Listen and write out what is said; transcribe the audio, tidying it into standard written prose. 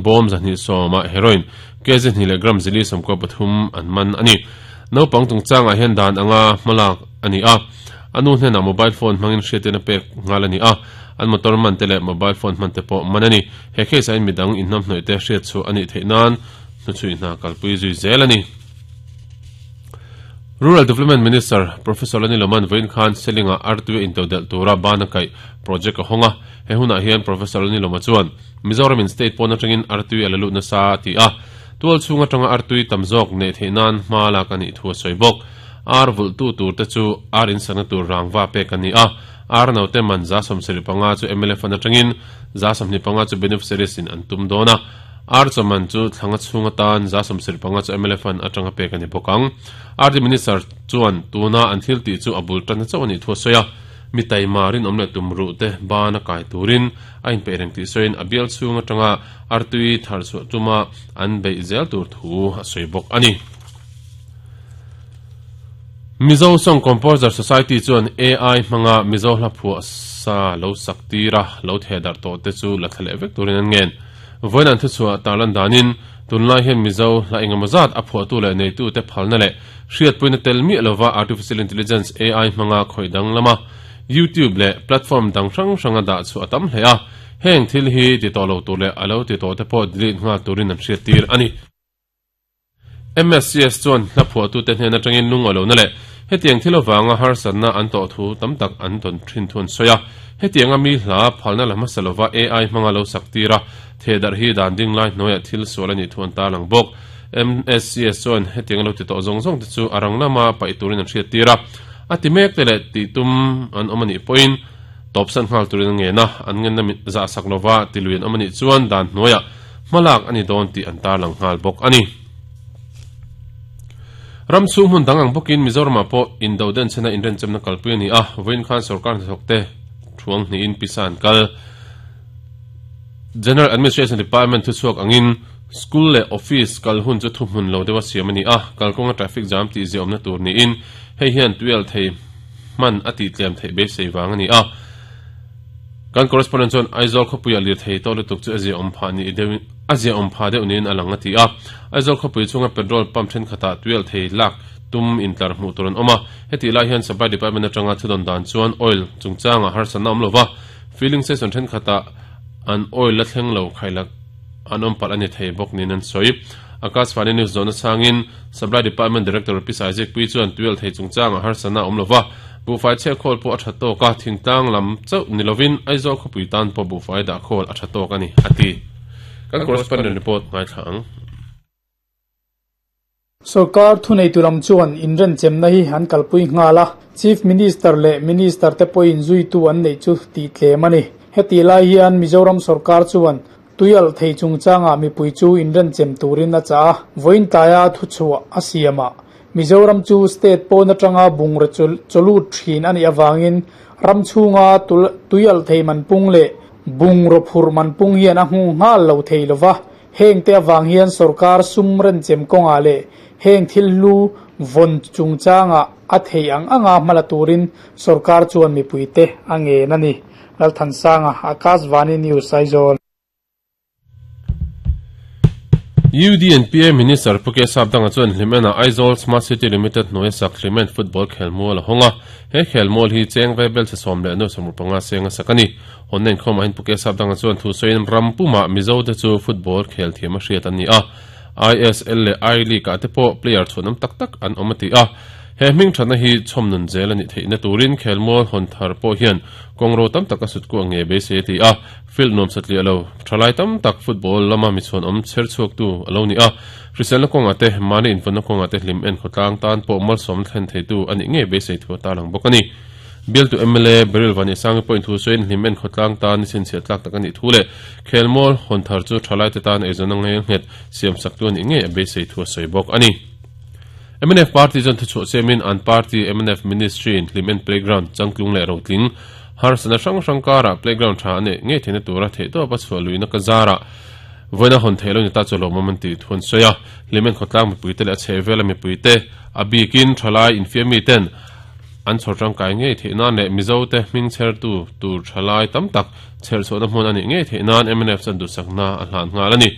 Bawm 210 ah heroin kg hnih leh gram 493 an man a ni. Naupang chungchangah hian dan anga hmalak a ni a, a nu hnenah mobile phone hmangin hriattirna pek nghal a ni a, an motor man te leh mobile phone hman te pawh man a ni. He case ah hian midang inhnamhnawih te hriatchhuah a nih theih nan hnuchhui hna kalpui zui zel a ni. Rural Development Minister Professor Lani Loman vawiin khan Seling-ah Artui a intodelh tura bana kaih project a hawng a, he hunah hian Professor Lani Loma chuan, Mizoramin state pawn atangin artui a la lut nasa a ti a, tual chhung atanga artui tam zawk neih theih nan hma lak a nih thu a sawi bawk. Ar vulhtu tur te chu ar insakna tur rangva pek a ni a, ar naute man 75% chu mla fund atangin 25% chu beneficiaries in an tum dawn a, ar chaw man chu thlanga chhung atan 75% chu mla fund atanga pek a ni bawk ang. RD Minister chuan tuna an thil tih chu a bul tanna chauh a nih thu a sawi a, mi taima rinawm leh tumruh te ban a kai turin a inpeih reng tih sawiin a bial chhung atanga artui thar chhuah tuma an beih zel tur thu a sawi bawk a ni. Mizo Song Composer Society chuan AI hmanga Mizo hla phuah sa lo sak tir a, lo theh darh tawh te chu la thla leh vek turin an ngen. Vawiin an thuchhuah tarlan danin tunlai hian Mizo hla engemaw zat a phuahtu leh neitute phalna leh hriatpuina tel miah lova Artificial Intelligence, AI, hmanga khawih danglama YouTube leh platform dang hrang hranga dah chhuah a tam hle a, heng thil hi ti tawh lo tur leh a lo ti tawh te pawh delete nghal turin an hriattir a ni. MSCS chuan hla phuahtute hnen atangin lung a lohna leh hetiang thil avanga harsatna an tawh thu tam tak an tawn thin thu an sawi a, hetianga mi hla phalna la hmasa lova AI hmanga lo sak tir a, thehdarh hi dan ding lai hnuaiah thil sual a nih thu an tarlang bawk. MSCS chuan hetianga lo ti tawh zawng zawng te chu a rang lama paih turin an hriattir a, a ti mek te leh tih tum an awm a nih pawhin tawpsan nghal turin an ngen a, an ngenna mit zah sak lova ti lui an awm a nih chuan dan hnuaiah hmalak a ni dawn tih an tarlang nghal bawk a ni. Ram chhung hmun dang ang bawkin Mizoramah pawh indo denchhena inrenchemna kalpui a ni a, vawiin khan sorkar hnathawkte thuang hnihin pisa an kal. General Administration Department thuchhuak angin School leh Office kal hun chu thuhmun lo deuha siam a ni a, kalkawnga traffic jam tih ziahawmna tur niin hei hian tuial thei hman a tih tlem theih beisei vang a ni a. Kan correspondent chuan Aizawl khawpuiah lirthei tawh lutuk chu a ziahawm phah ni deuh a ziahawm phah deuh niin a lang a ti a. Aizawl khawpui chhunga petrol pump thenkhatah tuial thei lak tum intlar hmuh tur an awm a, hetih lai hian Supply Department atanga thudawn dan chuan oil chungchangah harsatna awm lova filling station thenkhatah an oil la thleng lo khailak an awm palh a ni thei bawk niin an sawi. Akashvani News zawhna chhangin Supply Department Director Pi Saizikpui chuan tuial thei chungchangah harsatna a awm lova, buhfai chhiah khawl pawh a tha tawk a, thingtlang lam chauh ni lovin Aizawl khawpui tan pawh buhfai dah khawl a tha tawk a ni, a ti. Kan correspondent report ngaithla ang. Sorkar thuneitu lam chuan inrenchemna hi an kalpui nghal a, Chief Minister leh Minister te pawhin zuitu an neih chu tih tlem a ni. Hetih lai hian Mizoram sorkar chuan tuialh thei chungchangah mipui chu inrenchem turin a chah a, vawiin tlaia thuchhuah a siamah Mizoram chu state pawn atanga bungraw chawlut thin a nih avangin ram chhunga tuialh thei man pung leh bungraw phurh man pung hian a hmu nghal lo thei lova, Hengte avang hian sorkar sum renchem kawngah leh heng thil hlu vawn chungchangah a theih ang anga hmala turin sorkar chuan mipuite a ngen a ni. Lalthansanga, Akashvani News, Aizawl. UDNPA Minister Pu K Sapdanga chuan Hlimen-ah Aizawl Smart City Limited hnuaia sak Hlimen Football khelmual a hawng a. He khelmual hi cheng ve bel chhe 10 65 seng a sak a ni. Hawnna inkhawmah hian Pu K Sapdanga chuan thu sawiin ram pumah Mizo te chu football khel thiam a hriat an ni a, ISL leh I League ah te pawh player chhuanawm tak tak an awm a ti a. He hming thatna hi chhawm nun zel a nih theihna turin khelmual hawn thar pawh hian kawngro tam tak a sut kuah nge beisei a ti a. Field nuam satliah lo, thalai tam tak football lama mi chhuanawm chher chhuaktu a lo ni a. Hriselna kawngah te, mahni invawnna kawngah te hlim en khawtlang tan pawh malsawmna thlen theitu a nih ngei beisei thu a tarlang bawk a ni. Bialtu mla Beryl Vanisangi pawhin thu sawiin hlim en khawtlang tan chhinchhiah tlak tak a nih thu leh khelmual hawn thar chu thalaite tan eizawnna ngei nghet siam saktu a nih ngei a beisei thu a sawi bawk a ni. Mnf party chuan thuchhuah siamin an party mnf ministry in hlim en playground changtlung leh rotling harsatna hrang hrang karah playground tha a neih ngei theihna tura theihtawpa chhuah luihna ka zarah vawiin a hawn theih lo ni ta chu lawmawm an tih thu an sawi a. Hlim en khawtlang mipuite leh a chhehvela mipuite a bikin thalai infiammi ten. an chhawr tangkai ngei theih nan leh Mizote hming chhertu tur thalai tam tak chherchhuahna hmun a nih ngei theih nan mnf chuan duhsakna a hlan nghal a ni.